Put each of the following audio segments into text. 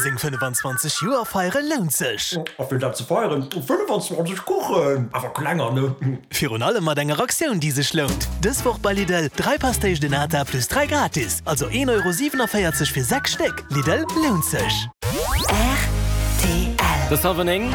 Seng 25 Joer feiere lount sech! A fir dat ze feieren, 25 Kuchen, awer klenger, ne? Virun allem mat enger Aktioun déi sech lount! Dës Woch bei Lidl, 3 Pastéis de Nata plus 3 gratis, also 1,47 Euro fir 6 Stéck. Lidl, lount sech! Rtl. Et ass hallwer 9.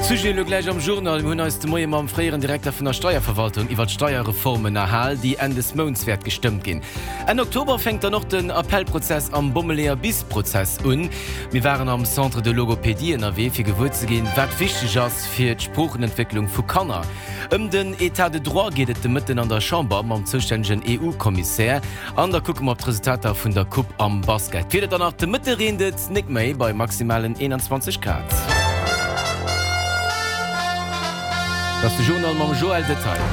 Sujet elo gläich am Journal. Mir hunn eis de Moie mam fréieren Direkter vun der Steierverwaltung iwwer d'Steierreform ënnerhal, déi Enn des Mounts wäert gestëmmt ginn. Enn Oktober fänkt dann och den Appellprozess am Bommeleeër-Bis-Prozess un. Mir waren am Centre de Logopédie ënnerwee, fir gewuer ze ginn, wat wichteg ass fir d'Sproochenentwécklung vu Kanner. Ëm den Etat de droit geet et de Mëtten an der Chamber mam zoustännegen EU-Kommissär. An da kucke mer op d'Resultater vun der Coupe am Basket. D'Wieder dann nach, De Mëtte reent et nik méi bei maximalen 21 Grad. Dat ass de Journal mam Joël Detaille.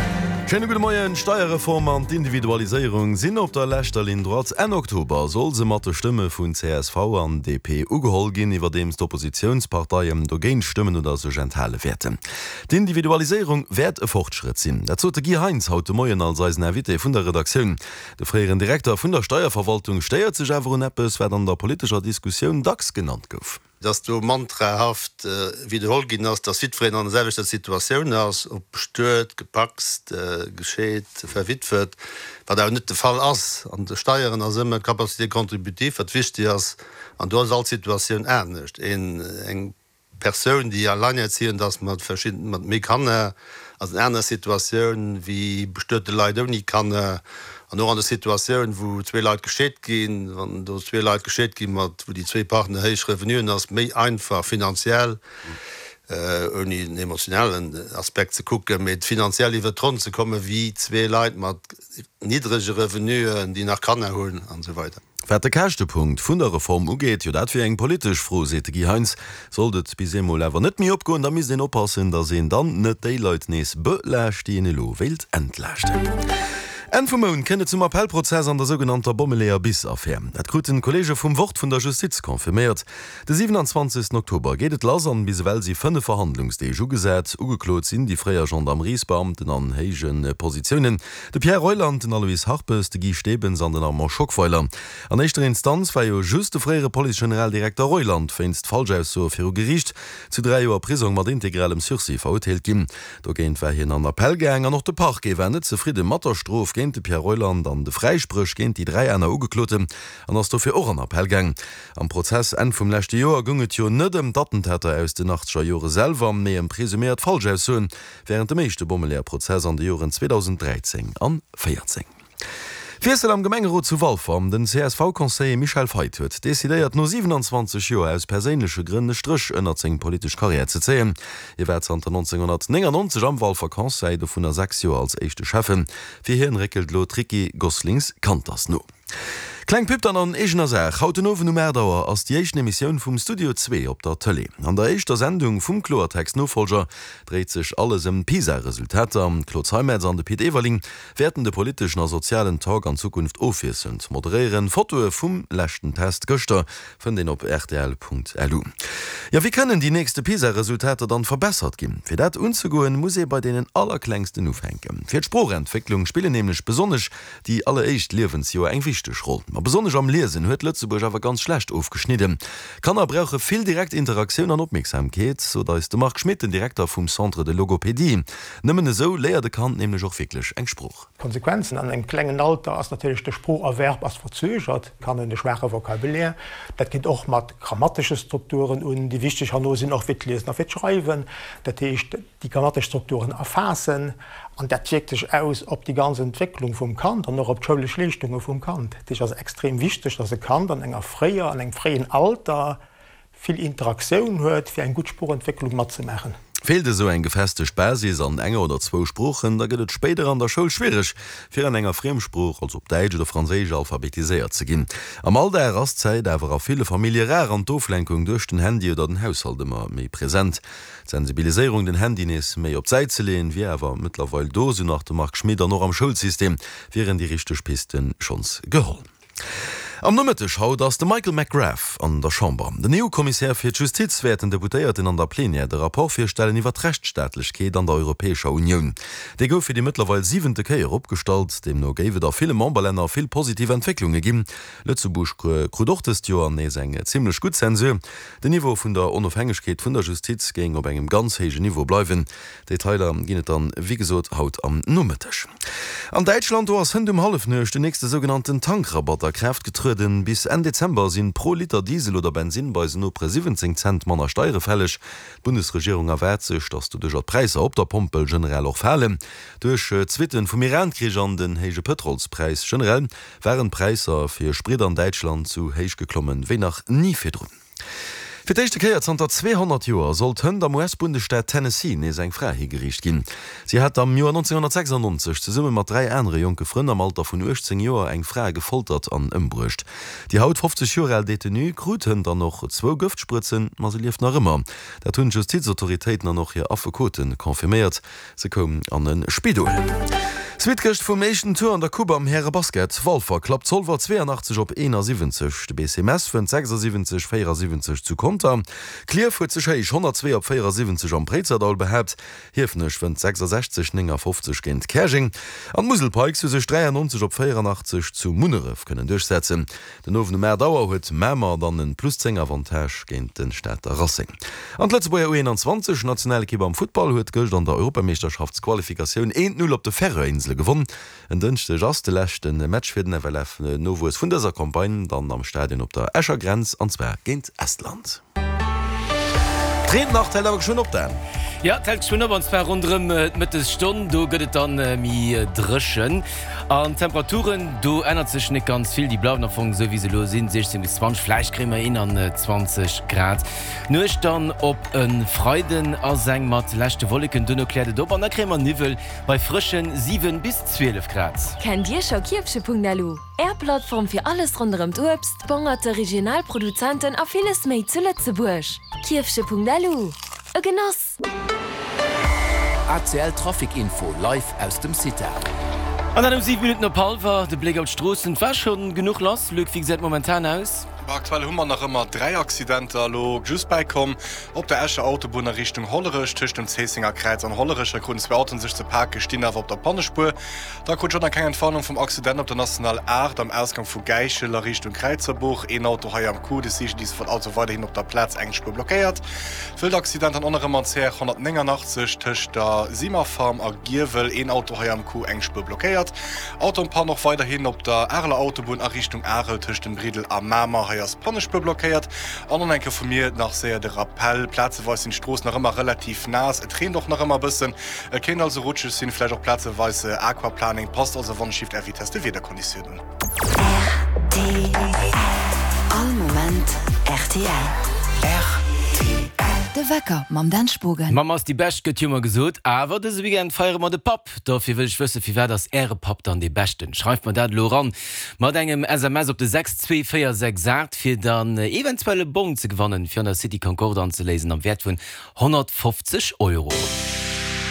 Schéine gudde Moien. D'Steierreform an d'Individualiséierung sinn op der leschter Linn droite. Enn Oktober soll se mat de Stëmme vun csv an DP ugeholl ginn, iwwerdeems d'Oppositiounsparteien dogéint stëmmen oder sech enthale wäerten. D'Individualiséierung wäert e Fortschrëtt sinn. Dat sot de Guy Heintz haut de Moien als eisen Invité vun der Redaktioun. De fréieren Direkter vun der Steierverwaltung stéiert sech awer un eppes, wat an der politescher Diskussioun dacks genannt gouf. Dass do mantrahaft widderholl ginn ass, dass jiddwereen an der selwechter Situatioun ass, ob bestuet, gepacst, gescheet, verwitwet, wat awer net de Fall ass. An de Steieren ass ëmmer d'Capacité contributive, wat wichtig ass, an do ass all Situatioun anescht. Een, eng Persoun, déi alleinerziehend ass mat verschidden, mat méi Kanner, ass en aner Situatioun wéi bestuete Leit ouni Kanner. An och an der Situatioun, wou zwee Leit gescheet ginn, wann do zwee Leit gescheet gi mat, wou déi zwee Partner héich Revenuen, ass méi einfach finanziell, ouni den emotionalen Aspekt ze kucken, mee finanziell iwwert d'Ronn ze kommen, wéi zwee Leit mat niddrege Revenuen, déi nach Kanner hunn an esou weider. Wat de Käschtepunkt vun der Reform ugeet, jo dat wier eng politesch Fro, seet de Guy Heintz. Sollt et bis eemol awer net méi opgoen, da misst een oppassen, datt een dann net déi Leit nees belaascht, déi een elo wéilt entlaaschten. Enn vum Mount kënnt et zum Appellprozess an der sougenannter Bommeleeër-Bis-Affär. Dat kruten d'Kolleege vum Wort vun der Justiz confirméiert. De 27 Oktober geet et lass an bis ewell si 5 Verhandlungsdeeg ugesat. Ugeklot sinn déi fréier Gendarmeriesbeamten an héije Positiounen, de Pierre Reuland, den Aloyse Harpes, de Guy Stebens an den Armand Schockweiler. An éischter Instanz war jo just de fréiere Police-Generaldirekter Reuland wéinst Falschaussoe viru Geriicht zu 3 Joer Prisong mat integralem Sursis verurteelt ginn. Dogéint war hien an Appell gaang an och de Parquet war net zefridde mat der Strof géint de Pierre Reuland an de Fräispréch géint déi 3 aner Ugekloten an ass dofir och an Appell gaang. Am Prozess Enn vum leschte Joer goung et jo net ëm d'Attentater aus den achtzeger Jore selwer, mee ëm presuméiert Falschaussoen wärend dem éischte Bommeleeër-Prozess an de Joren 2013 an 14. Wiessel am Gemengerot zu Walfer, Den CSV-Conseiller Michel Feith huet decidéiert, no 27 Joer aus perséinleche Grënn e Stréch ënnert seng politesch Karriär ze zéien. Hie war zanter 1999 am Walfer Conseil, dovunner 6 Joer als éischte Schäffen. Fir hien réckelt elo d'Ricky Goslings-Canters no. Kleng Pub dann an eegener Saach, Haut den Owend um 8 Auer ass déi éischten Emissioun vum Studio Zwee op der Tëlee. An der éischter Sendung vum Kloertext-Nofolger dréit sech alles ëm d'PISA-Resultater. D'Claude Zeimetz an de Pit Everling wäerten de politeschen a sozialen Talk an Zukunft ofwiesselnd moderéieren. Fotoe vum leschten Test gëschter fënnt een op rtl.lu. Jo, wéi kënnen déi nächste PISA-Resultater dann verbessert ginn? Fir dat unzegoen, muss ee bei deenen Allerklengsten ufänken. Fir d'Sproochentwécklung spillen nämlech besonnesch déi alleréischt Liewensjoer eng wichteg Roll. Ma besonnesch am Liesen huet Lëtzebuerg awer ganz schlecht ofgeschnidden. Kanner brauche vill direkt Interaktioun an Opmierksamkeet, sot eis de Marc Schmit, den Direkter vum Centre de Logopédie. Nëmmen esou léiert e Kand nämlech och wierklech eng Sprooch. D'Konsequenzen an engem klengen Alter ass natierlech, de Sproocherwerb ass verzögert, d'Kanner hunn e schwaache Vocabulaire. Dat geet och mat grammatesche Strukturen un, déi wichteg herno sinn, och fir d'Liesen a fir d'Schreiwen. Dat heescht, déi grammatesch Strukturen erfaassen an dat wierkt sech aus op déi ganz Entwécklung vum Kand an och op d'schoulesch Leeschtunge vum Kand. Dat heescht, et ass extrem wichteg, dass e Kand an enger fréier, an engem fréien Alter vill Interaktioun huet, fir eng gutt Sproochentwécklung matzemaachen. Feelt esou eng gefestegt Basis an enger oder zwou Sproochen, da gëtt et spéider an der Schoul schwiereg, fir an enger Friemsprooch, also op Däitsch oder Franséisch, alphabetiséiert ze ginn. Am Alldag ass d'Zäit awer a ville Famillje rar an d'Oflenkung duerch den Handy oder den Haushalt ëmmer méi present. D'Sensibiliséierung, den Handy nees méi op d'Säit ze leeën, wier awer mëttlerweil do, sou nach de Marc Schmit. An och am Schoulsystem wieren déi richteg Piste schonns geholl. Am Nomëtteg haut ass de Michael McGrath an der Chamber. Den EU-Kommissär fir d'Justiz wäert den Deputéierten an der Plenière de Rapport virstellen iwwer d'Rechtsstaatlechkeet an der Europäescher Unioun. Dee gouf fir déi mëttlerweil siwente Kéier opgestallt. Deemno géif et a ville Memberlänner vill positiv Entwécklunge ginn. Lëtzebuerg krut och dëst Joer nees eng zimmlech gutt Zensur. Den Niveau vun der Onofhängegkeet vun der Justiz géing op engem ganz héijen Niveau bleiwen. Detailer ginn et dann wéi gesot haut am Nomëtteg. An Däitschland, do ass hënt um Hallefnuecht den nächste sougenannten Tankrabatt a Kraaft getrueden. Bis Enn Dezember sinn pro Liter Diesel oder Bensinn bei eisen Nopere 17 Cent manner Steiere fälleg. D'Bundesregierung erwaart sech, datt doduercher d'Präisser op der Pompel generell och falen. Duerch d'Suitten vum Iran-Krich an den héije Pëtrolspräis generell waren d'Präisser fir Sprit an Däitschland sou héich geklommen wéi nach ni virdrun. Fir d'éischte Kéier zanter 200 Joer sollt hënt am US-Bundesstaat Tennessee nees eng Fra higeriicht ginn. Si hat am Joer 1996 zesumme mat 3 anere jonke Frënn am Alter vun 18 Joer eng Fra gefoltert an ëmbruecht. Déi haut 50 Joer al Detenue krut hënt dann och zwou Gëftsprëtzen, ma se lieft nach ëmmer. Dat hunn d'Justizautoritéiten an och hir Affekote confirméiert. Se koum an e Spidol. Suite gëscht vum éischten Tour an der Coupe am Härebasket. Walfer klappt Zolwer 82 op 71. De BC Mess wënnt 76, 74 zu Conter. Klierf huet sech héich 102 op 74 am Préizerdaul behaapt. Hiefenech wënnt 66, 59 géint Käerjeng. An d'Musel Pikes hu sech 93 op 84 zu Munneref kënnen duerchsetzen. Den Owend um 8 Auer huet Mamer dann en plus 10 Avantage géint den Stater Racing. An d'Lëtzebuerger U21 Nationalekipp am Futtball huet gëscht an der Europameeschterschaftsqualifikatioun 1, 0 op de Färöerinsele gewonn. En Dënschdeg ass de leschte Match fir den FLF Nowuess vun dëser Campagne dann am Stadion op der Escher Grenz an zwar géint Estland. D'Reent nach, d'hält awer geschwënn op, Dan. Jo, d'hält geschwënn op, an zwar ronderëm d'Mëttesstonn. Do gëtt et dann méi dréchen. An d'Temperaturen, do ännert sech net ganz vill, déi bleiwen am Fong esou wéi se elo sinn, 16 bis 20, vläicht kréie mer 21 Grad. D'Nuecht dann op e Freiden ass eng mat leschte Wolleken, duerno kläert et op an da kréie mer Niwwel bei frësche 7 bis 12 Grad. Kennt Dir scho Kierfche.lu? Är Plattform fir alles ronderëm d'Uebst, d'Bongerte, regional Produzenten a villes méi zu Lëtzebuerg. Kierfche.lu, E Genoss! ACL Trafic Info live aus dem CITA. An dat um 7 Minutten op hallwer. De Bléck op d'Stroossen, et war schonn genuch lass. Luc, wéi gesäit et momentan aus? Aktuell hu mer nach ëmmer 3 Accidenter elo just bäikomm. Op der Escher Autobunn a Richtung Hollerech, tëscht dem Zéissenger Kräiz an Hollerech, hei kruten zwee Autoen sech ze pake, stinn awer op der Pannespuer. Da krut ech och nach keng Entwarnung vum Accident op der National 8 am Ausgang vu Gäichel a Richtung Kräizerbuch. Een Auto hei am Coup, de CGDIS wollt also weiderhin op der Plaz eng Spuer blockéiert. Wëllt Accident dann och nach ëmmer an CR 189 tëscht der Simmerfarm a Giewel. Een Auto hei am Coup, eng Spuer blockéiert. Auto en panne och weiderhin op der Areler Autobunn a Richtung Arel tëscht dem Briddel a Mamer. Hei ass d'Pannespuer blockéiert. An och nach eng Kéier vu mir nach séier de Rappell, Plazeweis sinn d'Stroossen nach ëmmer relativ naass, et reent och nach ëmmer e bëssen. Et kéint also rutscheg sinn, vläicht och plazeweis Aquaplaning. Passt also wann Shift Är Vitesse de Wiederkonditiounen un. Rtl, All Moment rtl. Rtl. De Wecker mam Dan Spogen. D'Mamm ass déi Bescht, gëtt jo ëmmer gesot. Awer dëse Weekend feiere mer de Papp. Dofir wëll ech wëssen, firwat ass Äre Papp dann dee Beschten? Schreift mer dat elo eran mat engem SMS op de 62468, fir dann eventuell e Bong ze gewannen, fir an der City Concorde anzeléisen am Wäert vun 150 Euro.